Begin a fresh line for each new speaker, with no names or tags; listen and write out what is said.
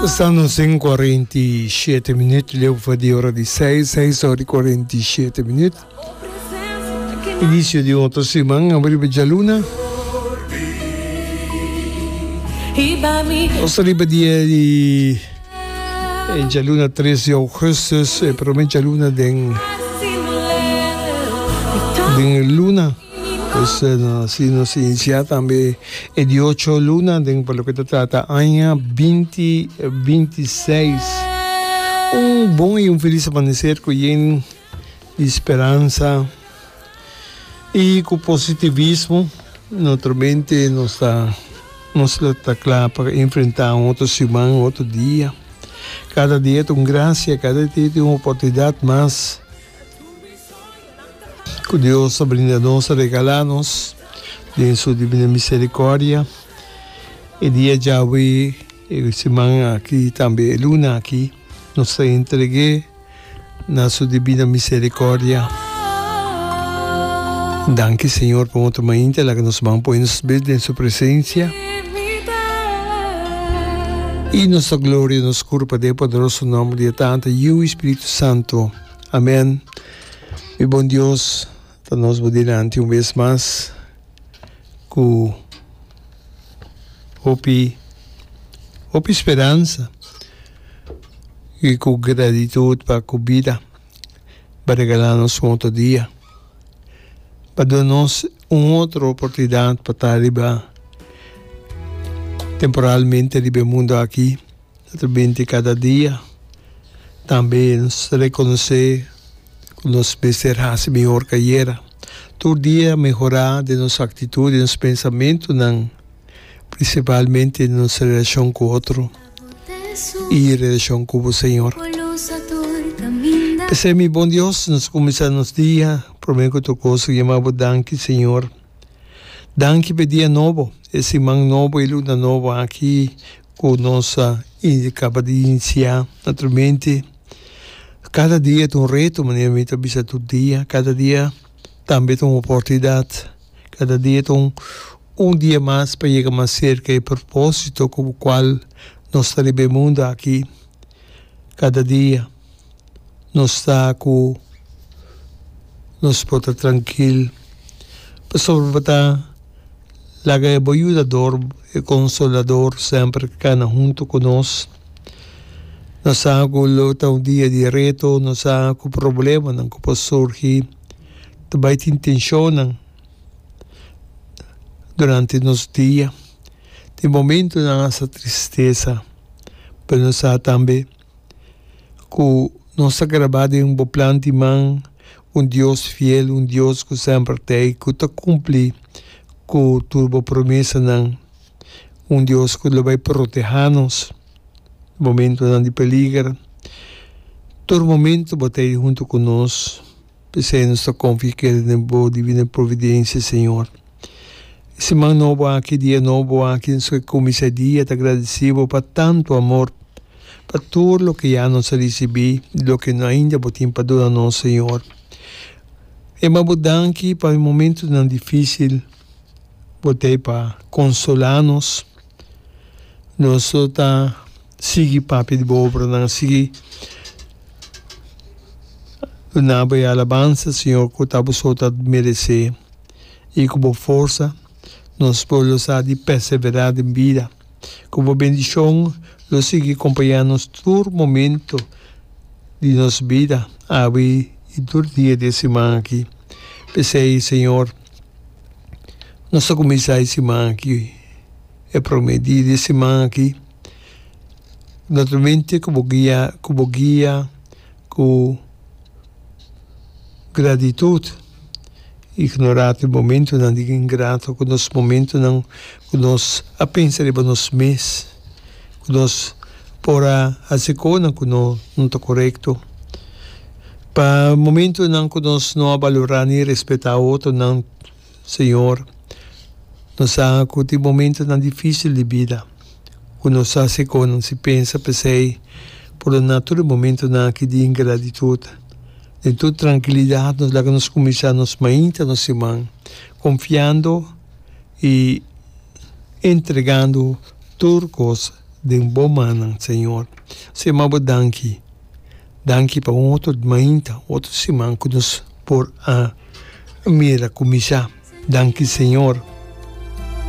Ta nos den 47 minuut, leu for di ora di 6, 6 ora y 47 minuut. Inicio di un otro siman, abo riba djaluna. Nos ta riba dia di djaluna 3 di augustus, e prome djaluna den den luna. Pues así nos inicia tambe e di ocho luna den pa loke ta trata aña binti binti seis. Un bon y un feliz amanecer cu yen di speransa y cu positivismo. Naturalmente nos ta nos lo ta cla pa enfrenta un otro siman, un otro dia. Cada dia ta un gracia, cada dia ta un oportunidad mas. Ku Dios a brinda nos, a regalá nos den su divina misericordia. E dia djawe, e siman aki, tambe e luna aki, nos ta entreg'é na su divina misericordia. Danki Señor pa un otro mainta, laga nos ban pone nos bes den su presencia. I nos ta gloria nos kurpa den e poderoso nomber di e Tata, Yiu i Spiritu Santo. Amen. Mi bon Dios ta nos bo dilanti un bes mas ku hopi hopi speransa i ku gratitut pa ku bida bo a regala nos un otro dia pa duna nos un otro oportunidat pa ta riba temporalmente riba e mundo aki. Ta binti kada dia. Tambe nos ta rekonosé ku nos mester hasi mihor kayera. Tur dia mehorá den nos aktitut, den nos pensamentunan, prinsipalmente den nos relashon ku otro i relashon ku bo Señor. P'esei mi bon Dios, nos kuminsá nos dia promé ku tur kos yama bo danki Señor. Danki p'e dia nobo, e siman nobo, e luna nobo aki Ku nos a kaba di inisiá. Naturalmente, kada dia ta un reto, manera mi ta bisa tur dia. Kada dia tambe ta un oportunidat. Kada dia ta un un dia mas pa yega mas serka e propósito ku kual nos ta riba e mundu aki. Kada dia nos ta ku nos por ta trankil pasobra bo ta. Laga e bo Yudador, e Konsolador, semper kana huntu ku nos. Nos sa ku lo ta un dia di reto, nos sa ku problemanan ku por surgi, ta bai tin tenshonnan durante nos dia. Tin momentunan hasta tristesa, pero nos sa tambe ku nos ta grabá den bo plan di man. Un Dios fiel, un Dios ku semper t'ei, ku ta kumpli ku tur bo promesanan, un Dios ku lo bai protehá nos momentunan di peliger. Tur momentu bo t'ei huntu ku nos, p'esei nos ta konfia i kere den bo divino providensia, Señor. E siman nobo aki, dia nobo aki, nos ke kuminsá e dia ta gradisí bo pa tantu amor. Pa tur loke ya nos a risibí i loke no ainda bo tin pa duna nos, Señor. Ema bo danki pa e momentunan difísil bo t'ei pa konsolá nos. Nos lo ta sigui papia di bo obranan, sigui duna bo e alabansa, Señor, ku ta bo so ta meresé i ku bo forsa nos por lo sa di perseverá den bida. Ku bo bendishon lo sigui kompañá nos tur momento di nos bida, awe i tur dia di e siman aki. P'esei, Señor, nos ta kuminsá e siman aki, e promé dia di e siman aki, naturalmente ku bo guia, ku bo guia, ku gratitut. Ignorá tur momentunan di ingrato ku nos momentunan ku nos a pensa riba nos mes, ku nos por a hasi konan ku no no ta korekto. Pa momentunan ku nos no a balorá ni respetá otronan, Señor, nos sa ku tin momentunan difísil di bida ku nos a hasi konan si pensa p'esei pordoná tur e momentunan aki di ingratitut. Den tur trankilidat nos laga nos kuminsá nos mainta nos siman konfiando i entregando tur kos. den bo mannan, Señor. Nos yama bo danki. Danki pa un otro mainta, otro siman ku nos por a mira kuminsá. Danki, Señor.